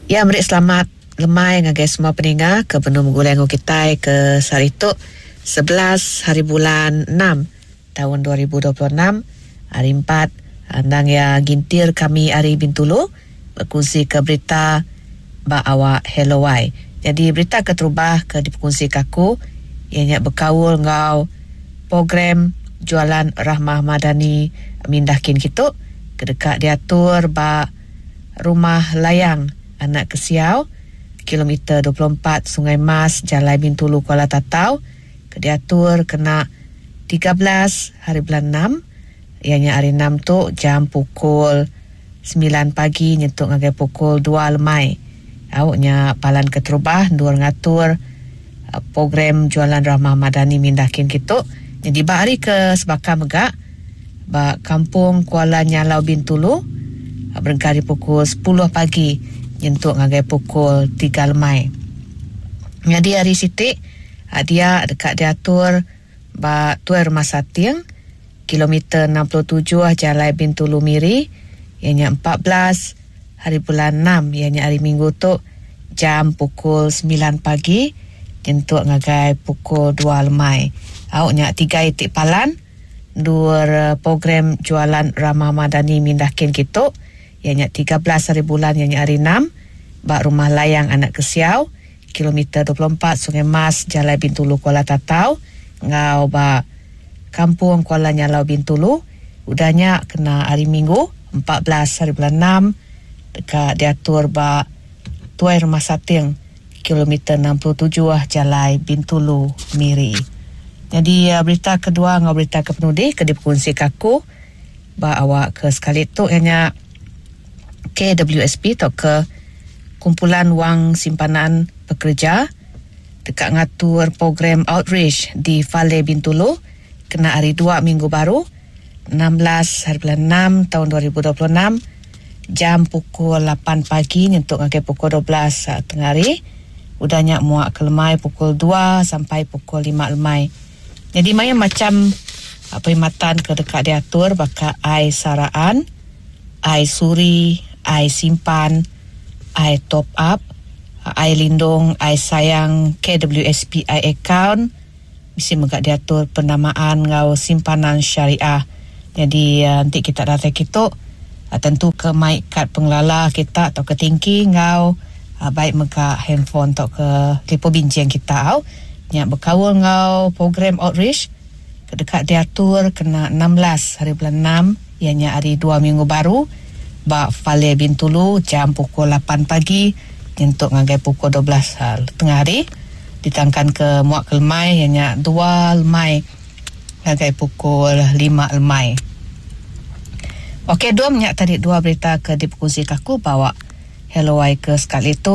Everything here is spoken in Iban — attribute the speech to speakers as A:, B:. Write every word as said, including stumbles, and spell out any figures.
A: Ya meri selamat lemai ngagai semua peninga ke benung begulai enggau kitai ke sehari tu sebelas hari bulan enam taun dua ribu dua puluh enam hari empat endang iya gintir kami ari Bintulu bekunsi ke berita ba awak Hello Wai. Jadi berita keterubah ke dipekunsi ke aku iya nya bekaul enggau program Jualan Rahmah Madani Mindah Kin Kitu ke deka diatur ba Rumah Layang Anak Kesiau kilometer dua puluh empat Sungai Mas Jalai Bintulu Kuala Tatau ke diatur kena tiga belas hari bulan enam iya nya hari enam tu jam pukul sembilan pagi nyentuk ngagai pukul dua lemai. Au nya palan keterubah endur ngatur program Jualan Rahmah Madani Mindah Kin Kitu. Jadi ba hari ke sebaka mega ba Kampung Kuala Nyalau Bintulu berengkah ari pukul sepuluh pagi nyentuk ngagai pukul tiga lemai. Jadi hari siti dia deka diatur ba Tuai Rumah Sating kilometer enam puluh tujuh Jalai Bintulu Miri iya nya empat belas hari bulan enam iya nya hari Minggu tu jam pukul sembilan pagi nyentuk ngagai pukul dua lemai. Au nya tiga itik palan dua program Jualan Rahmah Madani Mindah Kin Kitu iya nya tiga belas hari bulan iya nya hari enam ba Rumah Layang Anak Kesiau kilometer dua puluh empat Sungai Mas Jalai Bintulu Kuala Tatau ngau ba Kampung Kuala Nyalau Bintulu. Udah nya kena hari Minggu empat belas hari bulan enam deka diatur ba Tuai Rumah Sating kilometer enam puluh tujuh Jalai Bintulu Miri. Jadi berita kedua ngau berita ke penudi ke diperkongsi ke aku ba awak ke sekali tu ianya K W S P atau ke Kumpulan Wang Simpanan Pekerja deka ngatur program outreach di Fale Bintulu kena hari dua minggu baru enam belas hari bulan enam tahun dua ribu dua puluh enam jam pukul lapan pagi nyentuk ngagai pukul dua belas tengah hari. Udah nya muak ke lemai pukul dua sampai pukul lima lemai. Jadi maya macam perkhidmatan ke dekat diatur baka ai saraan, ai suri, ai simpan, ai top up, ai lindung, ai sayang, K W S P I account, mesti megak diatur penamaan ngau simpanan syariah. Jadi nanti kita datang kitu tentu ke mic kad pengelala kita atau ke tingki ngau baik mega handphone atau ke telefon bincang kita au. Nya berkaul ngau program outreach dekat diatur kena enam belas hari bulan enam ianya hari dua minggu baru ba Fale Bintulu jam pukul lapan pagi nyentuk ngagai pukul dua belas tengah hari ditangkan ke muak ke lemai ianya dua lemai ngagai pukul lima lemai. Okey, dua minyak tadi dua berita ke diperkongsi aku bawa Hello Wai ke sekali tu.